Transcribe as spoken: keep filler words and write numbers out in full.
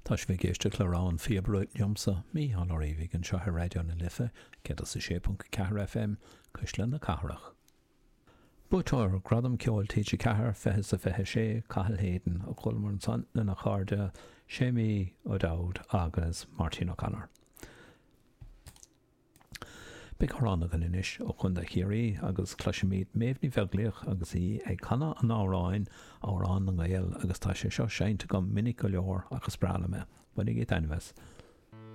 Tá sibh ag éisteacht le rogha an phíobaire liomsa Mícheál Ó Riabhaigh anseo ar Raidió na Life céad is a sé ponc ceathair FM Cuisle na Cathrach. Buaiteoir Gradam Ceoil TG Ceathair fiche is a fiche sé Cathal Hayden a chualamar ansan lena chairde Séimí O'Dowd agus Martin O'Connor. Beidh amhrán againn anois ó Chontae Chiarraí agus cloisfimid Méabh Ní Bheaglaoich agus í ag canadh an amhráin Amhrán na nGael agus tá sé seo seinnte agam minic go leor agus is breá liom é. Bainigí taitneamh as.